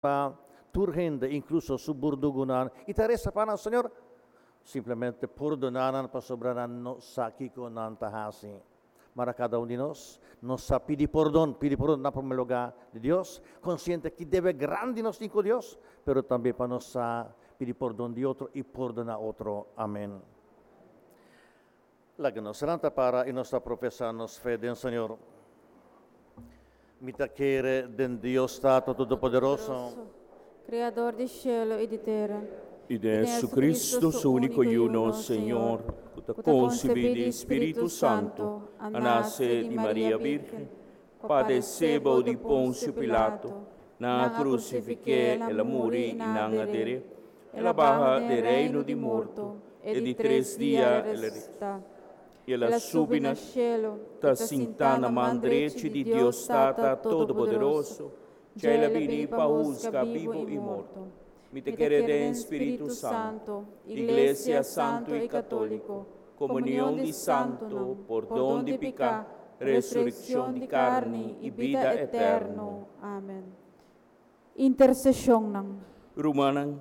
Pa tur hende, inkluso su burdugunan, i ta resa pa nan, Señor, simplemente pordoná nan pasobra nan no sa kiko nan ta hasi. Mara kada un di nos, nos sa pidi pordon, pidi pordon na promé lugá di Dios, konsiente ki debe grandi nos tin ku Dios, pero tambe pa nos sa pidi pordon di otro i pordoná otro. Amèn. Laga nos lanta para i nos ta profesá nos fe den Señor. Mi ta kere den Dios Tata Todopoderoso. Kreador di shelu i di tera. I den Jesucristo, su úniko Yu, nos Señor, ku ta konsebí di Spiritu Santu, a nase di Maria Bírgen, padesé bou di Ponsio Pilato, nan a krusifik'é, el a muri i nan a der'é. El a baha den reino di morto, e di tres dia el a resusitá. I el a subi na shelu, ta sintá na man drechi di Dios Tata Todopoderoso, dja el a bini pa husga bibu i morto. Mi ta kere den Spiritu Santu, Iglesia Santu i Katóliko, komunion di santu, pordon di piká, resurekshon di karni i bida eterno. Amen. Interseshonnan. Rumannan,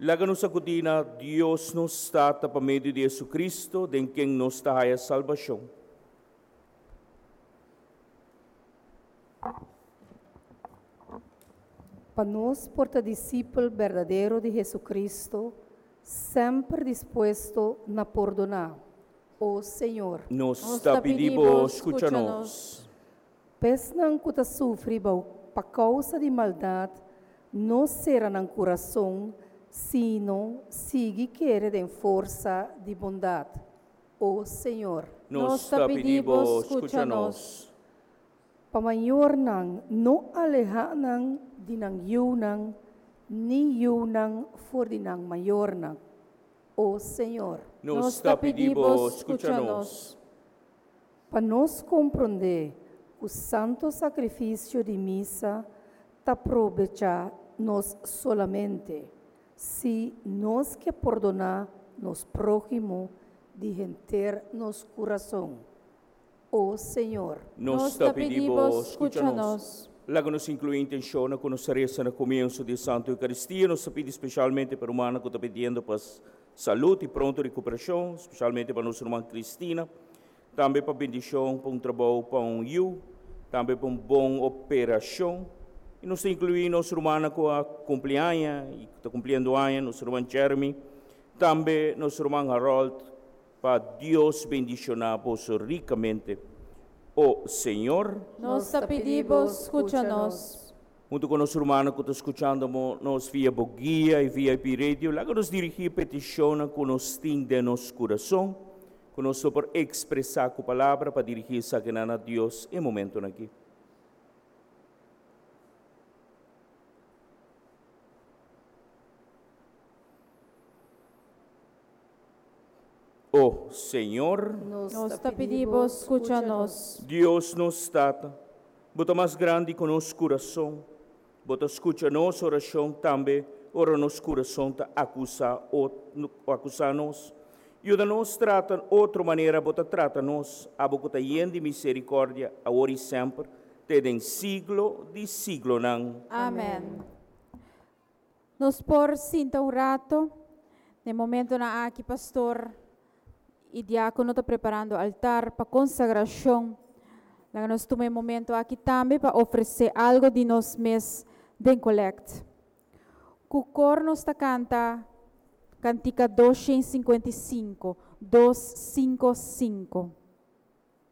laga nos akudí na Dios nos Tata pa medio di Jesucristo, den ken nos ta haya salbashon. Pa nos por ta disipel berdadero di Jesucristo, semper dispuesto na pordoná. O Señor. Nos ta pidi Bo, skucha nos. P'esnan ku ta sufri bou pa kousa di maldat, no sera nan kurason, sino sigui kere den forsa di bondat. O Señor. Nos ta pidi Bo, skucha nos. Pa mayornan no alehá nan di nan yunan, ni yunan for di nan mayornan. O Señor. Nos ta pidi Bo, skucha nos. Pa nos komprondé ku santo sakrifisio di misa ta probechá nos solamente si nos ke pordoná nos próhimo di henter nos kurason. O Señor. Nos ta pidi Bo, skucha nos. Laga nos inkluí intenshonnan ku nos a resa na komienso di e Santu Eukaristia. Nos ta pidi spesialmente pa rumannan ku ta pidiendo pa salud i pronto rekuperashon, spesialmente pa nos ruman Cristina. Tambe pa bendishon pa un trabou pa un yu, tambe pa un bon operashon. I nos ta inkluí nos rumannan ku a kumpli aña i ku ta kumpliendo aña, nos ruman Jeremy, tambe nos ruman Harold, pa Dios bendishoná boso rikamente. O Señor. Nos ta pidi bo skucha nos. Huntu ku nos rumannan ku ta skuchando nos via bo guia i VIP Radio, laga nos dirigí petishonnan ku nos tin den nos kurason, ku nos lo por ekspresá ku palabra pa dirigí esakinan na Dios e momentunan akí. O Señor. Nos ta pidi Bo skucha nos. Dios nos Tata, Bo ta mas grandi ku nos kurason. Bo ta skucha nos orashon tambe ora nos kurason ta akusá akusá nos. Yuda nos trata otro manera Bo ta trata nos, abo ku ta yen di miserikòrdia, awor i semper, te den siglo di siglonan. Amèn. Nos por sinta un rato. Den momentonan aki pastor i diákono ta preparando altar pa konsagrashon. Laga nos tuma e momento aki tambe pa ofresé algo di nos mes den kolèkt. Ku kor nos ta kanta kantika 255, dos sinku sinku.